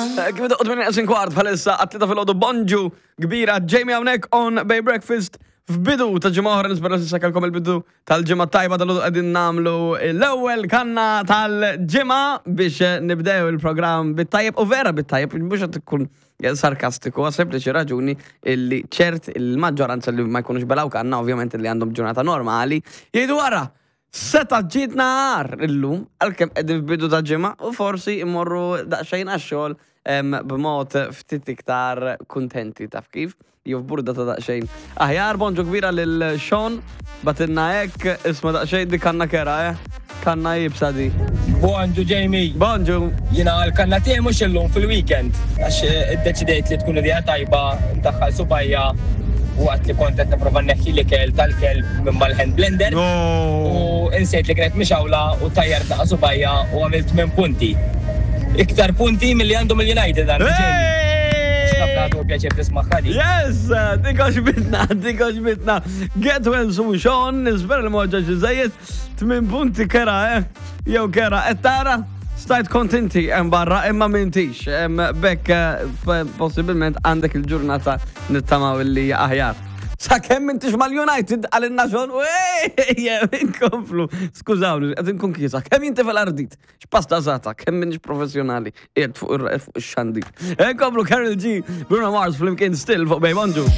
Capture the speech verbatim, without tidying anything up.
Eh, Kif doqgħod minn neqsin kwart bħalissa għat-tlieta filgħodu, bonġu kbira, Jamie hawnhekk on Bay Breakfast f'bidu ta' ġimgħa oħra. Nispera s'issa kellkom il-bidu tal-ġimgħa tajba. Dal qegħdin nagħmlu l-ewwel kanna tal-ġimgħa biex nibdew il-programm bit-tajjeb u vera bit-tajjeb, mhux qed ikun sarkastiku, għas sempliċi raġuni illi ċert il-maġġoranza li ma jkunux belgħu kanna, ovvjament li għandhom ġurnata normali, jgħidu wara, seta ġietna għar illum, għalkemm qegħdin f'bidu ta' ġimgħa u forsi immorru daqsxejn għax-xogħol em, b'mod ftit iktar kuntenti, taf kif? Jew f'burda ta' daqsxejn. Aħjar, bonġu kbira lil Sean, bagħtilna hekk, isma' daqsxejn, di kanna kera, eh? Kanna iebsa di. Bonġu, Jamie. Bonġu. Jiena għal-kanna tiegħi mhux illum, fil-weekend. Għax eh, iddeċidejt li tkun idea tajba ndaħħal subgħajja waqt li kont qed nipprova nneħħi l-ikel tal-kelb minn mal-hand blender. U insejt li kienet mixgħula u tajjar naqa subgħajja u għamilt minn punti. Iktar punti milli għandhom il-United għandu, Jamie. Għax nagħtu pjaċir tisma' di. Yes, dik għoġbitna, dik għoġbitna. Get well soon, Sean, nispera li m'weġġajtx iżżejjed. Tmin punti kera, eh? Jew kera, et tara, stajt kontinti hemm barra, imma m'intix. Em, Bekk, eh, possibilment għandek il-ġurnata nittamaw li aħjar. Sa kemm m'intix mal-United għal Sean, inkomplu. Skużawni, qed inkun kisa. Kemm jinti fil-ardit? X'pasta zata, kemm minix professjonali, qiegħed fuq ir- fuq ix-xandir. Inkomplu Karol G, Bruno Mars flimkien, Still fuq Bay. Bonġu.